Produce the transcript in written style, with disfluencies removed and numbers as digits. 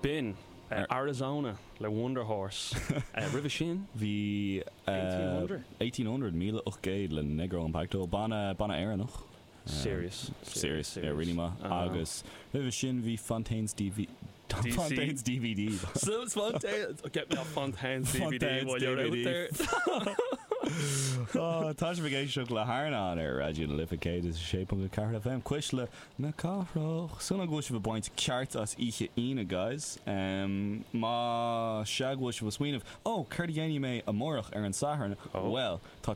B'in Arizona le Wunderhorse. Roimhe sin? Bhí 1800? 1800, 1800 le Negro Impacto, banna, banna Éireannach. Serious. Serious, yeah, really maith. Agus roimhe sin bhí Fontaines DV, DC. Fontaines DVD. Fontaines, get me off Fontaines DVD while you're out there. Oh, tá sibh ag éisteacht le hArnán ar Raidió na Life 106.4 FM, Cuisle na Cathrach. Súil agam go bhfuil sibh ag baint ceart as oíche Aoine, guys. Má sea go bhfuil sibh ag smaoineamh, oh, céard a dhéanfaidh mé amárach ar an Satharn? Bhuel, tá.